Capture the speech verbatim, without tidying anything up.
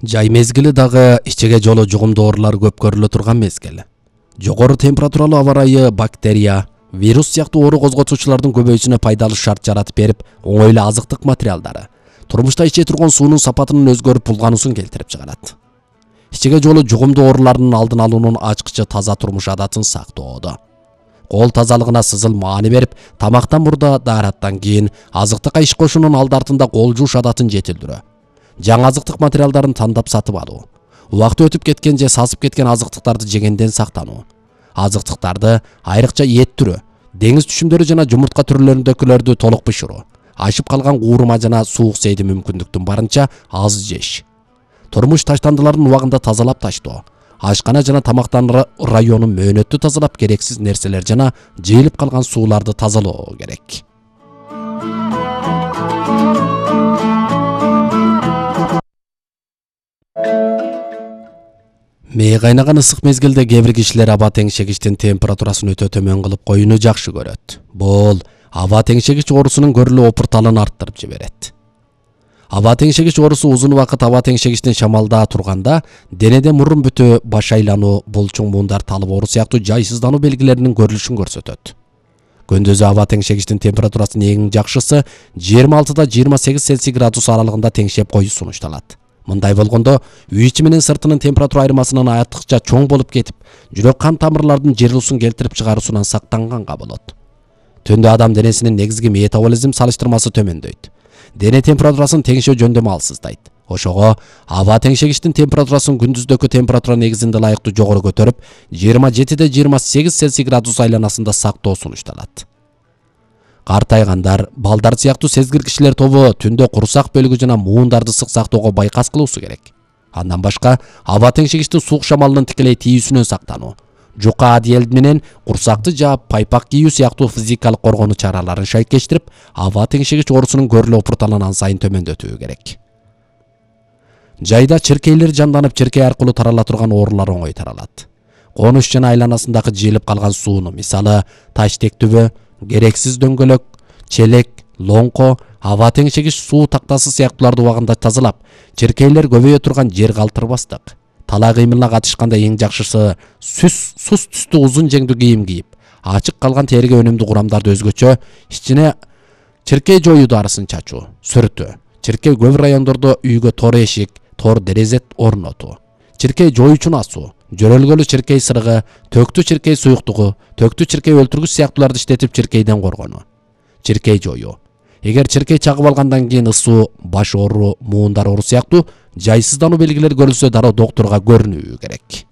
Жай мезгили дагы ичеге жолу жугумдуу оорулар көп көрүлө турган мезгил. Жогору температуралуу аба ырайы бактерия, вирус сыяктуу оору козготуучулардын көбөйүүсүнө пайдалуу шарт жаратып берип, оңой эле азыктык материалдары, турмушта иче турган суунун сапатынын өзгөрүп булгануусун келтирип чыгарат. Ичеге жолу жугумдуу оорулардын алдын алуунун ачкычы таза турмуш адатын сактоодо. Кол тазалыгына сызыл маани берип, тамактан мурда, даараттан кийин, азыктыкка иш кошуунун алды артында кол жууш адатын жетилдирөө. Жаңы азыктык материалдарын тандап сатып алуу. Убакыт өтүп кеткен же сасып кеткен азыктыктарды жегенден сактануу. Азыктыктарды, айрыкча эт түрү, деңиз түшүмдөрү жана жумуртка түрлөрүндөгүлөрдү толук бышыруу. Ашып калган куурма жана суук сейди мүмкүндүктүн барынча аз жеш. Турмуш таштандыларын убагында тазалап таштоо. Ашкана жана тамактануу районун мөөнөттүү тазалап, керексиз нерселер жана жыйылып калган сууларды тазалоо керек. Мээ кайнаган ысык мезгилде кээ бир кишилер аба теңшегичтин температурасын өтө төмөн кылып коюуну жакшы көрөт. Бул аба теңшегич оорусунун көрүлүү опурталын арттырып жиберет. Аба теңшегич оорусу узун убакыт аба теңшегичтин шамалдаа турганда, денеде мурун бүтө, баш айлануу, булчуң муундар талып оору сыяктуу жайсыздануу белгилеринин көрүлүшүн көрсөтөт. Күндүзү аба теңшегичтин температурасынын эң жакшысы жыйырма алтыда жыйырма сегиз Цельсий градус аралыгында теңшеп коюу сунушталат. Мындай болгондо үй ичи менен сыртынын температура айырмасынын артыкча чоң болуп кетип, жүрөк кан тамырлардын жырылуусун келтирип чыгаруусунан сактанганга болот. Түндө адам денесинин негизги метаболизм салыштырмасы төмөндөйт. Дене температурасын теңшөө жөндөмү алсыздайт. Ошого аба теңшегичтин температурасын күндүздөгү температура негизинде ылайыктуу жогору көтөрүп, жыйырма жетиде жыйырма сегиз Цельсий градус айланасында сактоо сунушталат. Картайгандар, балдар сыяктуу сезгир кишилер тобу түндө курсак бөлүгү жана муундарды сык сактоого байкас кылуусу керек. Андан башка, аба теңшегичтин суук шамалынын тикелей тийүүсүнөн сактануу, жука одеял менен курсакты жаап, пайпак кийүү сыяктуу физикалык коргонуу чараларын шайкештирип, аба теңшегич оорусунун көрүлүү опурталын ан сайын төмөндөтүү керек. Жайда чиркейлер жанданып, чиркей аркылуу тарала турган оорулар оңой таралат. Конуш жана айланасындагы жыйылып калган сууну, мисалы, таштек түбө, керексиз дөңгөлөк, челек, лоңко, аба теңшегич суу тактасы сыяктууларды убагында тазалап, чиркейлер көбөйө турган жер калтырбастык. Талаа кыймылына катышканда эң жакшысы сүс сус түстүү узун жеңдүү кийим кийип, ачык калган териге өнүмдүү курамдарды өзгөчө ичине чиркей жоюу дарысын чачуу, сүртүү. Чиркей көп райондордо үйгө тор эшик, тор дерезе орнотуу. Чиркей жоюучун асуу, жөрөлгөлүү чиркей сырыгы, төктүү чиркей суюктугу, төктүү чиркей өлтүргүч сыяктууларды иштетип чиркейден коргонуу. Чиркей жоюу. Эгер чиркей чагып алгандан кийин ысуу, баш оору, муундар оору сыяктуу жайсыздануу белгилери көрүлсө, дароо доктурга көрүнүү керек.